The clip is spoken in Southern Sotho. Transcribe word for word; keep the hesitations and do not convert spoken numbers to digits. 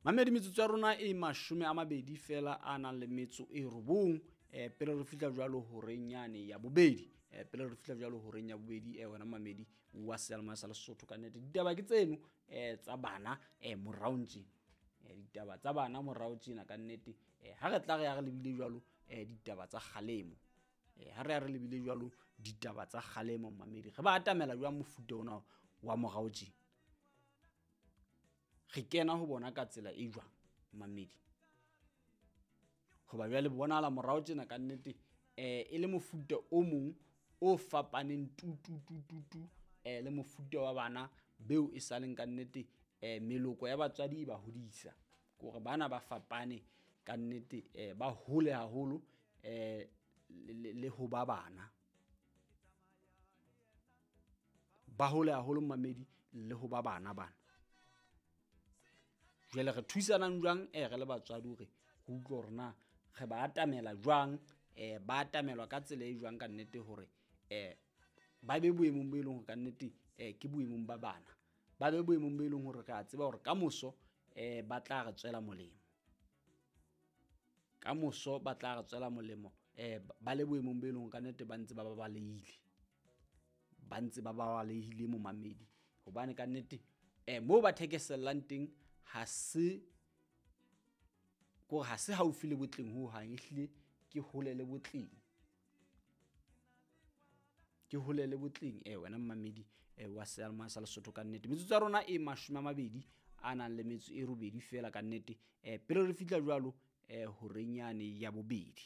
Mamedi, metsotso ya rona e mashome a mabedi fela a nang le metso e robong um pele re fihla jwalo horeng yane ya bobedi, um pele re fihla jwalo horeng ya bobedi. um wena mamedi wa seyalemoya sa Lesotho, ka nnete ditaba ke tseno um tsa bana um morao tjena, um ditaba tsa bana morao tjena ka nnete. um ha re tla re ya re lebile jwalo um ditaba tsa kgalemo, um ha re ya re lebile jwalo ditaba tsa kgalemo, mamedi re ba atamela jwang mofuta ona wa morao tjena? Re kena ho bona ka tsela e jwang, mamedi? Hoba jwale bonahala morao tjena ka nnete um e le mofuta o mong o fapaneng tu tu tu tu tu um le mofuta wa bana beo e saleng ka nnete um meloko ya batswadi e ba hodisa. Ke hore bana ba fapane ka nnete, um ba hole haholo um le ho ba bana, ba hole haholo mamedi le ho ba bana bana. Jwale re thusanang jwang um re le batswadi hore re utlwe hore na re ba atamela jwang, um ba atamelwa ka tsela e jwang ka nnete hore um ba be boemong bo e leng hore ka nnete um ke boemong ba bana, ba be boemong bo e leng hore re a tseba hore kamoso um ba tla re tswela molemo, kamoso ba tla re tswela molemo um ba le boemong bo e leng hore ka nnete ba ntse ba babalehile, ba ntse ba babalehile momamedi. Hobane ka nnete um moo ba thekesellang teng ha se kore ha se haufi le botleng hohang, ehlile ke hole le botleng, ke hole le botleng. E wena mmamedi wa seyalemoya sa Lesotho, ka nnete metsotso ya rona e mashome a mabedi a nang le metso e robedi fela ka nnete um pele re fihla jwalo um horeng yane ya bobedi.